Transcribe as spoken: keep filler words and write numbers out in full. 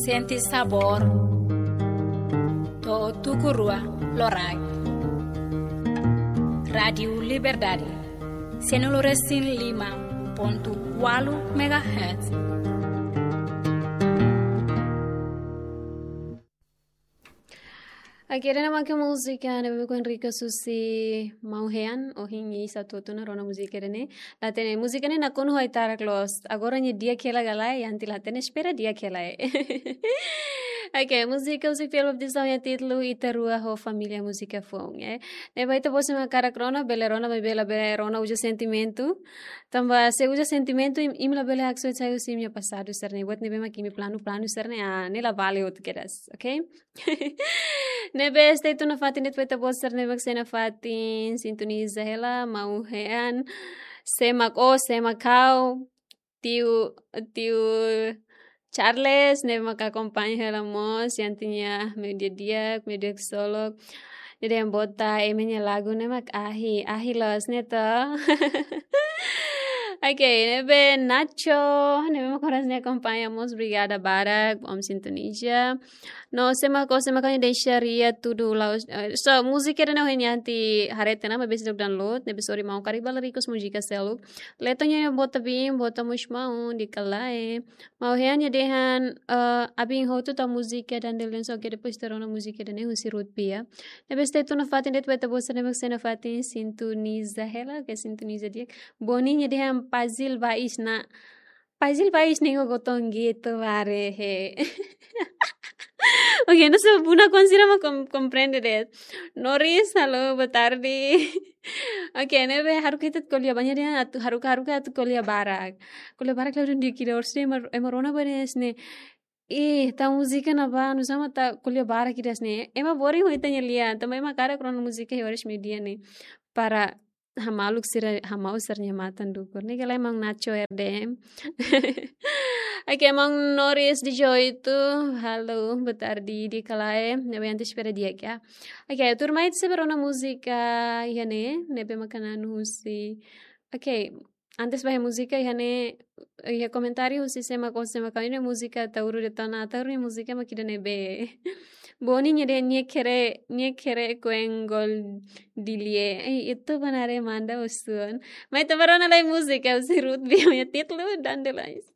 Sente sabór. To'o tuku rua loraik. Rádiu Liberdade. Sanulu resin lima pontu ualu megahertz. Oke, ida-ne'e mak múzika ne'ebé mak Enrique Susi Mau Hean, ohin ita hotu ona rona múzika ida-ne'e. La hatene múzika ne'e nakonu ho ai-tarak loos. Agora nia di'ak hela ka lae, Yanti la hatene, espera di'ak hela. Oke, múzika husi filme Obsessão nia títulu Ita Rua ho Família Múzika Foun, eh. Ne'ebé ita-boot sira mak hakarak rona, bele rona, maibé labele rona uza sentimentu. Tanba se uza sentimentu, imi, imi labele haksoit sai husi imi-nia pasadu sira-ne'e. Buat ne'ebé mak imi planu, planu sira-ne'e, ah, ne'e la vale hotu kedas, oke? Ne'ebé stay tune nafatin de'it ba ita-boot sira ne'ebé mak sei nafatin sintoniza hela, Mau Hean, sé mak ó, sé mak ha'u, tiu, tiu Charles, ne'ebé mak akompaña hela mós, Yanti nia meiudia di'ak, meiudia ksolok. Ne'e dehan bota ema nia lagu ne'e mak ahi, ahi loos ne'e to. Oke, ne'ebé Nacho, ne'ebé mak oras ne'e akompaña mós, obrigada barak, bom sintoniza. No, sé mak ó, sé mak ha'u, nia deixa ria tudu la'ós, eh, so, múzika ida-ne'e ohin Yanti haree tiha ona, maibé sei download, ne'ebé sorry maun, karik bala request múzika seluk. Letra nia bota bin, bota mós maun, di'ak ka lae. Mau Hean nia dehan, eh, abin hotu tau múzika Dandelion, só ke depois ita rona múzika ida-ne'e husi Ruth Pia. Ne'ebé stay tune nafatin de'it ba ita-boot sira ne'ebé mak sei nafatin sintoniza hela, ke sintoniza di'ak. Boni nia dehan Pazil Bais na. Pazil Bais ne'e gotongi tu bare he. Oke, no se buna konsidera ma kom-, komprende de'it. Noris, halo, boa tarde. Oke, ne'ebé haruka ita ko'alia ba nia dehan atu, haruka, haruka atu ko'alia barak. Ko'alia barak la dun di'ak ida, orsida ema, ema rona ba de'it ne'e. Ih, tau múzika ne'ebá, nusá mak tau ko'alia barak ida-ne'e. Ema boring ho ita-nia lian, tanba ema hakarak rona múzika iha oras meiudia ne'e. Para hamaluk sira, hamau sira-nia matan dukur. Ne'e ka lae maun Nacho R D M. Oke, maun Noris dezoito. Halo, boa tarde, di'ak ka lae. Ne'ebé Yanti espera di'ak ya. Oke, tuirmai ita sei bá rona múzika iha ne'e, ne'ebé mak hanesan husi. Oke, antes bá iha múzika iha ne'e, iha komentáriu husi sé mak ó, sé mak ha'u, ne'e múzika Ataúro de Tona, Ataúro nia múzika mak ida-ne'ebé. Boni nia dehan nia kere, nia kere kuen gol dilie. Ei, ita-boot haree manda usun. Mai ita bá rona lai múzika husi Ruth Pia nia títulu Dandelions.